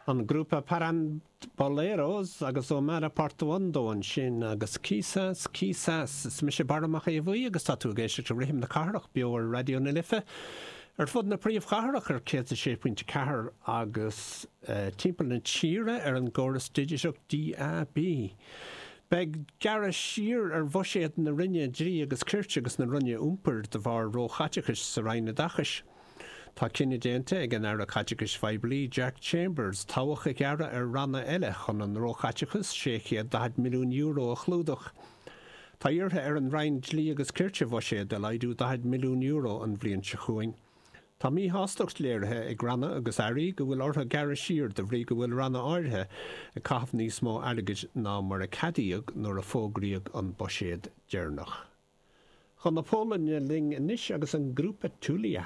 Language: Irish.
An grúpa Paramboleros agus Omara Portuondo ansin agus Quizás Quizás. Is mise Barra Mac Aodha Bhuí agus tá tú ag éisteacht le Rithim na Cathrach beo ar Raidió na Life ar fud na príomhchathrach ar 106.4 agus timpeall na tíre ar an gcóras digiteach DAB. Beidh gearradh siar ar bhuiséad na Roinne Dlí agus Cirt agus na Roinne Iompair de bharr róchaiteachais sa Roinn Oideachais. Tá cinneadh déanta ag an Aire Caiteachais Phoiblí, Jack Chambers, tobhach a ghearradh ar ranna eile chun an róchaiteachas €640 milliún a chlúdach. Tá iarrtha ar an Roinn Dlí agus Cirt a bhuiséad a laghdú €40 milliún an bhliain seo chugainn. Tá míshástacht léirithe ag ranna agus airí go bhfuil orthu gearradh siar de bhrí go bhfuil ranna áirithe ag caitheamh níos mó airgid ná mar a ceadaíodh nuair a fógraíodh an buiséad deireanach. Chun na Polainne linn anois agus an grúpa Tulia.